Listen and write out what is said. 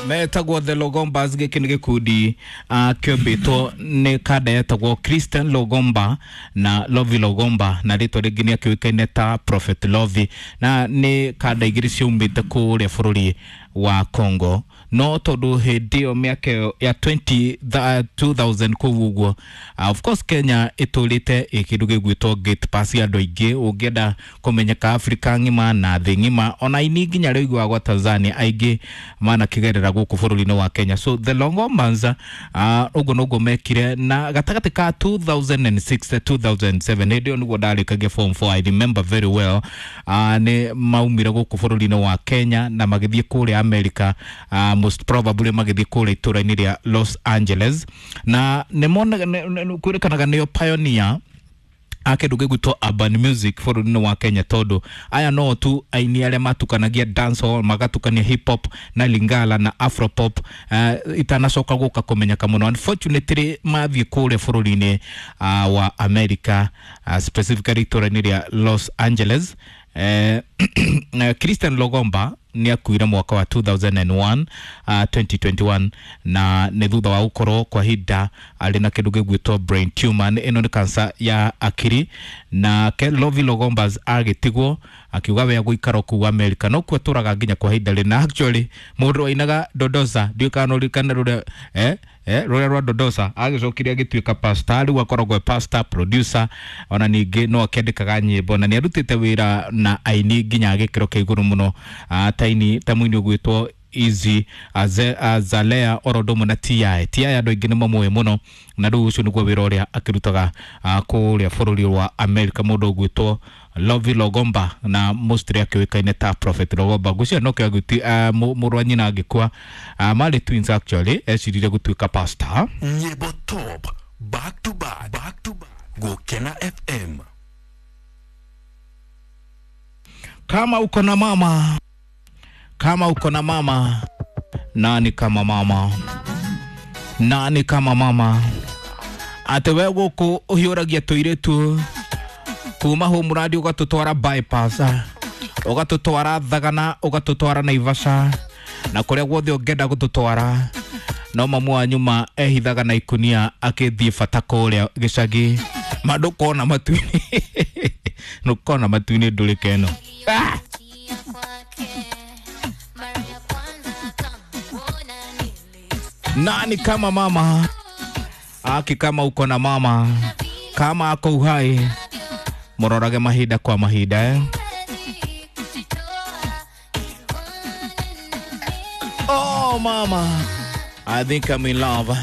Metagwo The Logombas. Gĩkĩ nĩ gĩkundi kĩombĩtwo nĩ kanda yetagwo Christian Logomba na Lovi Logomba, na rĩtwa rĩngĩ nĩ akĩũĩkaine ta Prophet Lovi, na nĩ kanda igĩrĩ ciaumĩte kũrĩa bũrũri wa Congo. No tondũ hĩndĩ ĩyo mĩaka ĩyo ya 2000 kũu ũguo, of course Kenya ĩtũrĩte ĩ kĩndũ gĩgwĩtwo gate pass ya andũ aingĩ. Ũngĩenda kũmenyeka Afrika ng'ima na thĩ ng'ima, ona aini nginya arĩa ũiguaga gwa Tanzania aingĩ manakĩgerera gũkũ bũrũri-inĩ wa Kenya. So The Longombas ũguo noguo mekire, na gatagatĩ ka 2006 2007, hĩndĩ ĩyo nĩguo ndarĩkagia form 4, I remember very well, nĩ maumire gũkũ bũrũri-inĩ wa Kenya na magĩthiĩ kũrĩa America, most probably magĩthiĩ kũrĩa itũũra-inĩ rĩa Los Angeles, na nĩ kwĩrĩkanaga nĩo pioneer a kĩndũ gĩgwĩtwo urban music bũrũri-inĩ wa Kenya, tondũ aya no tu aini arĩa matukanagia dancehall, magatukania hip hop na lingala na afropop, itanacoka gũka kũmenyeka mũno. Unfortunately mathiĩ kũrĩa bũrũri-inĩ wa America, specifically itũũra-inĩ rĩa Los Angeles, Christian Logomba nĩ akuire mwaka wa 2001, 2021, na nĩ thutha wa gũkorwo kwa ihinda arĩ na kĩndũ gĩgwĩtwo brain tumor. Ĩno nĩ cancer ya akiri. Na Lovi Logombas agĩtigwo akiuga we agũikara kũu America, no kuo atũraga nginya kwa ihinda rĩna. Actually mũndũ wainaga Dodosa, ndiũĩ kana no ũririkane rũrĩa rũrĩa rwa Dodosa, agĩcokire agĩtuĩka pastor. Rĩu akoragwo e pastor, producer, ona ningĩ no akĩandĩkaga nyĩmbo, na nĩ arutĩte wĩra na aini nginya gĩkĩro kĩa igũrũ mũno, ta aini ta mũini ũgwĩtwo Easy Azalea, oro ũndũ ũmwe na TI TI, andũ aingĩ nĩ mamũĩ mũno. Na rĩu ũcio nĩguo wĩra ũrĩa akĩrutaga kũrĩa bũrũri wa America, mũndũ ũgwĩtwo Lovi Logomba, na mostly akĩũĩkaine ta Prophet Logomba. Ngwĩciria no kĩo mũrũ wa nyina angĩkua, marĩ twins actually, ecirire gũtuĩka pastor. Nyĩmbo top back to back, back to back. Gukena FM. Kama uko na mama, kama uko na mama, nani kama mama, nani kama mama? Atĩ we gũkũ ũhiũragia tũirĩtu kuma hũmũrandi, ũgatũtwara Bypass, ũgatũtwara Thagana, ũgatũtwara Naivasha na kũrĩa guothe ũngĩenda gũtũtwara, no mamu wanyu ma ehithaga na ikunia akĩthiĩ bata kũrĩa gĩcagi. Ma ndũkona matu-inĩ, ndũkona matu-inĩ ndũrĩke ĩno, ah! Nani kama mama? Aki kama uko na mama, kama ako uhai, mũrorage mahinda kwa mahinda, eh? Oh mama, I think I'm in love.